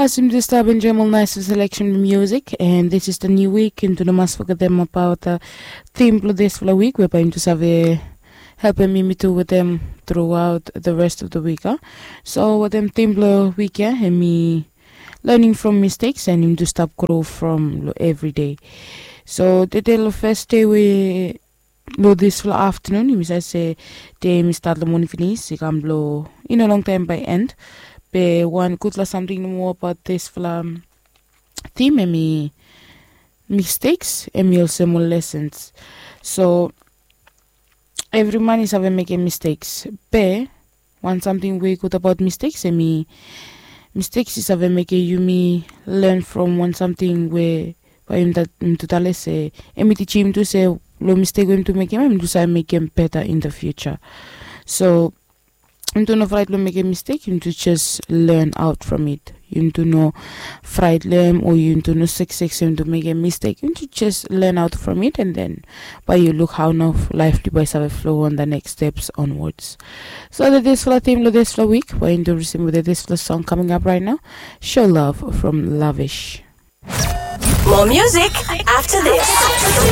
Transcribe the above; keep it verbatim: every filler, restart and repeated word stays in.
Yes, yumi tu stap enjoim ol nais seleksen blong musik, and this is the new week. Yumi tu no mas fogetem abaot the theme blong disfala wik, we bae yumi tu save helpem yumi tu wetem throughout the rest of the week, a? So wetem theme blong wik ya, hemi learning from mistakes, and yumi tu stap grow from lo every day. So tede lo fes dei we lo disfala aftanun, yumi save se dei hemi stat lo moning finis i kam lo i no longtaem bae end. Be wan gudfala samting nomo abaot disfala theme, hemi mistakes, hemi olsem ol lessons. So evri man i save mekem mistakes, be wan samting we i gud abaot mistakes, hemi mistakes i save mekem yumi learn from wan samting we bae yumi tu tale se hemi tijim yumi tu se lo mistake we yumi tu mekem, yumi tu save mekem better in the future. So yumi tu no fraet lo mekem mistake, yumi tu just learn out from it. Yumi tu no fraet lo hem o yumi tu no seksek se yumi tu mekem mistake. Yumi tu just learn out from it, and then bae yu luk hao nao laef blong yu bae save flow on the next steps onwards. So the disfala theme lo disfala wik, bae yumi tu risim wetem disfala song coming up right now. Show Love from Lavish. More music after this.